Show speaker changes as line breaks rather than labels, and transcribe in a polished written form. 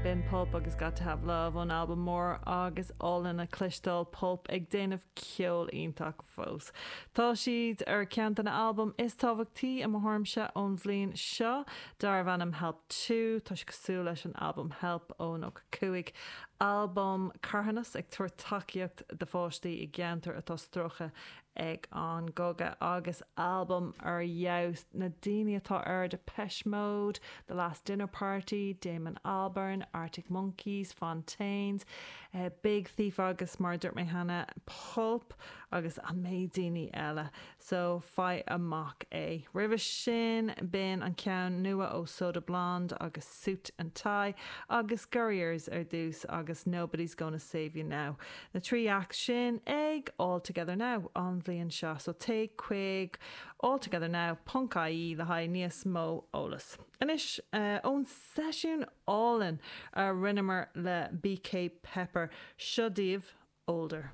B'in Pulp agus Got to Have Love ón albam mór agus álainn le cloisteáil Pulp ag déanamh ceol iontach fós. Tá siad ar ceann de na albaim is tábhachtaí i mo thuairimse ón bhliain seo, darbh ainm Help 2. Tá sé cosúil leis an albam Help ó 95, albam carthanas ag tabhairt tacaíocht do pháistí i gceantar atá stróicthe ag an gcogadh agus albam ar fheabhas. Na daoine atá air, Depeche Mode, The Last Dinner Party, Damon Albarn, Arctic Monkeys, Fontaines, Big Thief agus mar a dúirt mé cheana, Pulp agus an méid daoine eile. So, faigh amach é. Roimhe sin, b'in an ceann nua ó Soda Blonde agus Suit and Tie agus Gurriers ar dtús agus Nobody's Gonna Save You Now. Na 3 act sin ag All Together Now an bhliain seo, so téigh chuig alltogethernow ponc ie le haghaidh níos mó eolas. Anois, ón seisiún álainn a rinneamar le BK Pepper, seo daoibh Older.